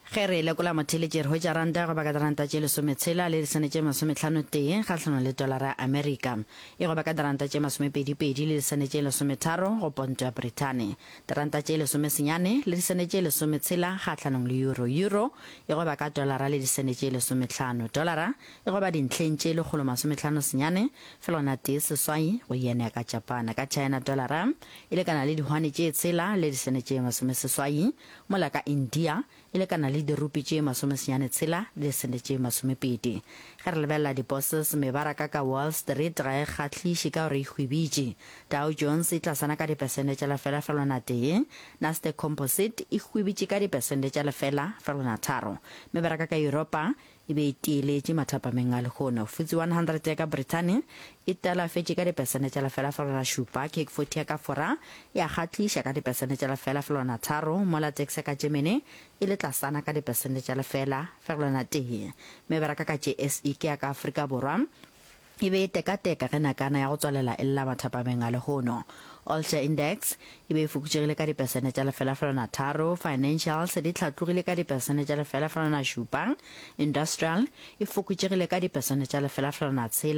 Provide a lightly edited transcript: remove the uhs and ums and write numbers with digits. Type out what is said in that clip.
Ge re lekola motheeletši re hwetša ranta ya go ba ka diranta tše lesometshela le disene tše masometlhanotee kgahlanong le tolara ya Amerika. E go ba ka diranta tše masomepedipedi le disene tše lesometharo go ponto ya Brithani. Diranta tše lesomesenyane le disene tše lesometshela kgahlanong le euro. Euro e go ba ka tolara le disene tše lesometlhano. Tolara e go ba dintlheng tše lekgolomasometlhanosenyane felwana tee seswai go yen ya ka Japan. Ka China tolara e lekana le dihwane tše tshela le disene tše masomeseswai mola ka India e lekana le dirupi tše masomesenyane tshela le disente tše masomepedi. Ge re lebelela diposses, mebaraka ka Wall Street ga e kgahliše ka gore e hwibitše. Dow Jones e tlasana ka dipesente tša lefela felwana tee, Nasdaq Composite e hwibitše ka dipesente tša lefela felwana tharo. Mebaraka ka Yuropa e be e tieletše mathapameng a lehono. FTSE 100 ya ka Brithani e talafetše ka dipesente tša 0,7, CAC 40 ya ka Fora ya kgahliša ka dipesente tša 0,3, mola DAX ya ka Germany e le tlasana ka dipesente tša 0,1. Mebaraka ka JSE ke ya ka Afrika Borwa e be e tekateka ge nakana ya go tswalela e lla mathapameng a lehono. All Share Index e be e fokotšegile ka dipesene tša 0.3, Financials di hlatlogile ka dipesene tša 0.7, Industrial e fokotšegile ka dipesene tša 0.6.